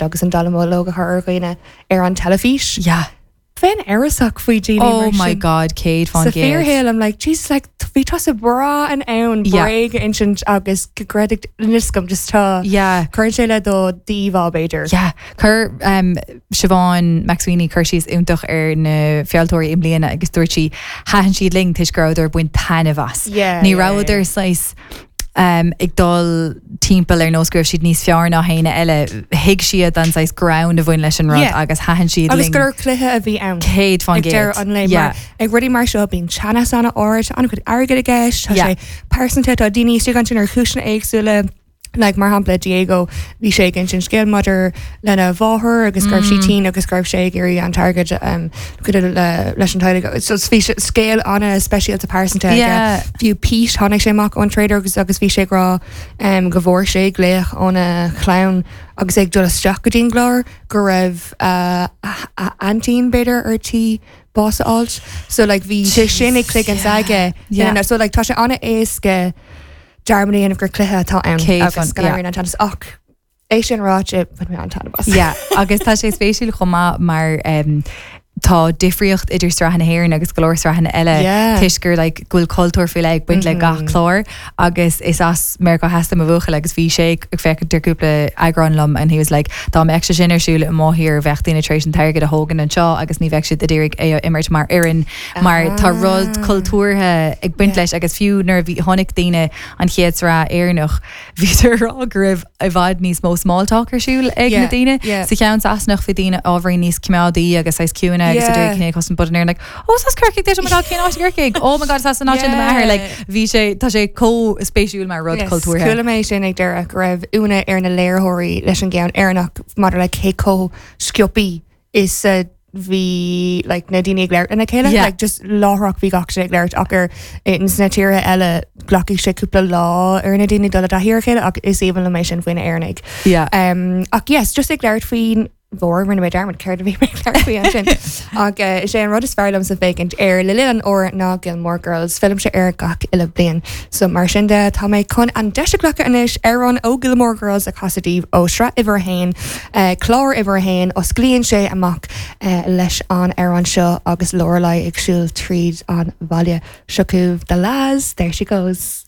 Agus an dallamullóg a chur ar dhaoine ar an teilifís. Yeah. Bheinn amhrasach faoi daoine Oh mar my sin. God, 100%. Sa fíorshaol, I'm like, Jesus, like, bhí tusa breá in ann Yeah. bréag a insint agus go gcreidfeadh, níl 'fhios agam, just tá, Yeah. cuireann sé le do d'íomhá, b'fhéidir. Yeah. Chuir um, Siobhán McSweeney cur síos iontach ar na fealltóirí i mbliana agus dúirt sí, thaitin siad linn toisc go rabhadar ag baint taitneamh as. Yeah, Ní yeah, rabhadar yeah. saghas ag dul timpeall ar nós go raibh siad níos fearr ná éinne eile. Thuig siad an saghas greann a bhain leis an rud Yeah. agus thaitin siad Agus linn. gur cluiche a bhí ann. 100%. Ag deireadh an lae. Yeah. Mar ag rudaí mar seo bíonn teannas an-ard, an-chuid airgid i gceist, tá Yeah. sé pearsanta, tá daoine istigh ansin ar chúiseanna éagsúla. Like, mar shampla Diego, bhí sé ag insint scéal maidir lena mháthair agus go raibh sí tinn agus go raibh sé ag iarraidh an t-airgead um, cuidiú le, leis an teaghlach. So bhí sé- scéal an-speisialta pearsanta aige. Yeah. Fiú Pete, tháinig sé amach ón trailer agus agus bhí sé ag rá um, go bhfuair sé glaoch óna chlann agus é ag dul isteach go dtí an gclár go raibh uh, a, a aintín b'fhéidir ar tí bás a fháilt. So like, bhí sé sin ag cloigeann s'aige. Yeah. So like, tá sé an-éasca dearmad a dhéanamh gur cluiche atá ann 100 agus go yeah. n-éiríonn an teannas ach é sin ráite bhain mé an-taitneamh as. Yeah, agus tá sé spéisiúil chomh maith mar um, tá difríocht idir sraith na hÉireann agus go leor sraitheanna eile Yeah. toisc gur like, go bhfuil cultúr faoi leith ag baint le gach clár agus is as Meiriceá Theas do mo bhuachaill agus bhí sé ag féachaint ar cúpla eagrán liom and he was like dá mbeadh sé sin ar siúl i mo thír bheadh daoine tar éis an t-airgead a thógaint anseo agus ní bheadh siad ag iarraidh é a imirt mar fhoireann mar tá rud cultúrtha ag baint leis agus fiú nuair a bhí chonaic daoine an chéad sraith Éireannach bhíodar ag rá go raibh i bhfad níos mó small talk ar siúl ag na Yeah, daoine. yeah. Sa cheann Sasanach bhí daoine ábhairín níos coimeádaí agus saghas ciúine agus Yeah. a d'iarraidh cné cosn but in Éirinn like oh is as Corcaigh duit oh my god cén áit i gCorcaigh oh my god is as an áit sin do m'athair like bhí sé tá sé chomh spéisiúil mar rud Yes, cultúrtha. Chuala mé sin ag deireadh go raibh ionadh ar na léiritheoirí leis an gceann Éireannach maidir le cé chomh sciobtha is a bhí like, na daoine ag labhairt lena chéile Yeah. like, just láithreach bhí gach duine ag labhairt ach ar ins na tíortha eile glacfaidh sé cúpla lá ar na daoine dul i dtaithí ar a chéile ach is aoibhinn liom é sin faoi na Éireannaigh. Yeah. Um, ach yes, just ag labhairt faoin bhfómhar rinne mé dearmad céard a bhí mé ag labhairt faoi ansin. Ach uh, is é an rud is fearr liomsa féachaint air le linn an fhómhair ná Gilmore Girls, fillimse air gach uile bliain. So mar sin de tá mé chun an deis a ghlacadh anois amhrán ó Gilmore Girls a chasadh daoibh ó sraith uimhir a haon, clár uimhir a haon, osclaíonn sé amach leis an amhrán seo agus Lorelai ag siúl tríd an bhaile. Seo chugaibh The La's, There She Goes.